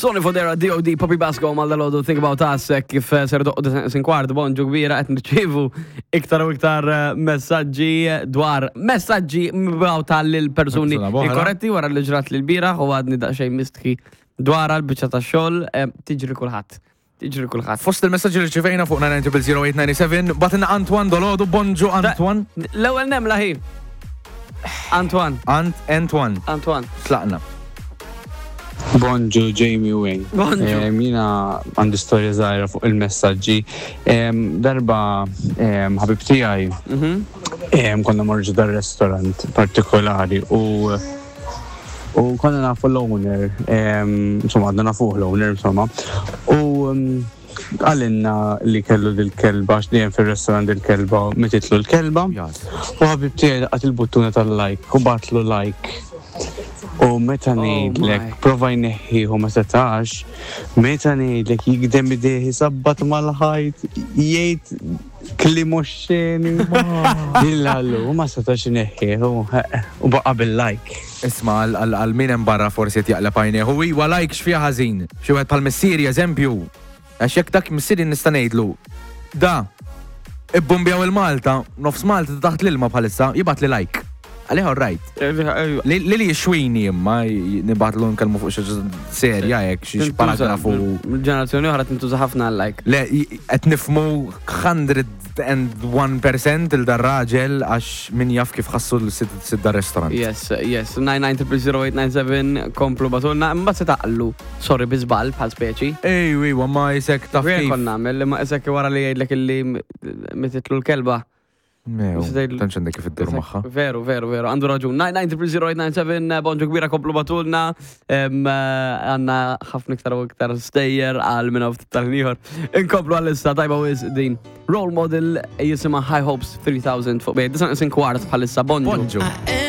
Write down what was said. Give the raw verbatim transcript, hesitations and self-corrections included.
Sonny Fodera, D O D. Poppy Basco, Malda Lodu, Think About Us, eh, kif eh, ser doqqu sin kwart, bonġu kbira, qed nirċievu iktar u iktar eh, messaġġi dwar messaġġi mibgħuta lil persuni Persuna b'oħra. inkorretti wara li ġrat lil bieraħ u għadni daqsxejn mistħi dwar għal-biċċa ta' xogħol, eh, tiġri kulħadd. Tiġri kulħadd. Fost il-messaġġi li rċivejna fuq nine nine zero zero eight nine seven, bagħtilna Antoine dalgħodu, bonġu Antoine. L-ewwel nemla hi. Antoine. Ant Antoine. Antoine. Tlaqna. Bonġu Jamie Wayne. Bonġu. Em, Jiena għandi storja żgħira fuq il-messaġġi. Em, Darba em, ħabib tiegħi Mhm. em, konna morġu dar restaurant partikolari u u konna nafu l-owner, em, insomma għadna nafuh l-owner, insomma. U em, qalilna li kellu dil-kelba, għax dejjem fil-restaurant dil-kelba, mititlu l-kelba. U ħabib tiegħi laqat il-buttuna tal-like u bagħatlu like. U meta ngħidlek, my. prova jneħħihu, ma setax, meta ngħidlek jigdem idejh, sabbat mal-ħajt, jgħid kliem oxxeni. Dillallu, u ma setax jneħħihu, u baqa bil-like. Isma, għal- għal min hemm barra forsi qed jaqleb għajnejh. U iwa, like x'fiha ħażin? Xi wieħed bħal missieri, eżempju. Għax jekk dak missieri nista' ngħidlu: "Da, ibbumbjaw il-Malta, nofs Malta taħt l-ilma bħalissa," jibgħat li like. Għalih all right. Li li li jixwini imma nibgħatlu nkellmu fuq xi serja hekk, xi paragrafu. Ġenerazzjoni oħra tintuża ħafna like. Le, qed nifhmu mija u wieħed fil-mija il dar-raġel għax min jaf kif ħassu l-sid dar-restaurant. Yes, yes, nine nine zero zero eight nine seven, komplu ibagħtulna, mbagħad se taqlu, sorry, bi żball bħal speċi. Ej, iwa, ma jisek taf Jien kif. kont nagħmel, imma isek wara li jgħidlek illi mititlu l-kelba. Mew, Se tgħidlu- tantx għandek kif iddur magħha. Veru, veru, veru, għandu raġun. nine nine zero zero eight nine seven, bonġu kbira, komplu ibagħtulna. Em, eh, Għandna ħafna iktar u iktar stejjer għal minn ftit tal-ieħor. Inkomplu għal-issa tajba wis din. Role Model jisimha, High Hopes three thousand fuq bejn. Disgħa neqsin kwart bħalissa, bonġu. Bonġu.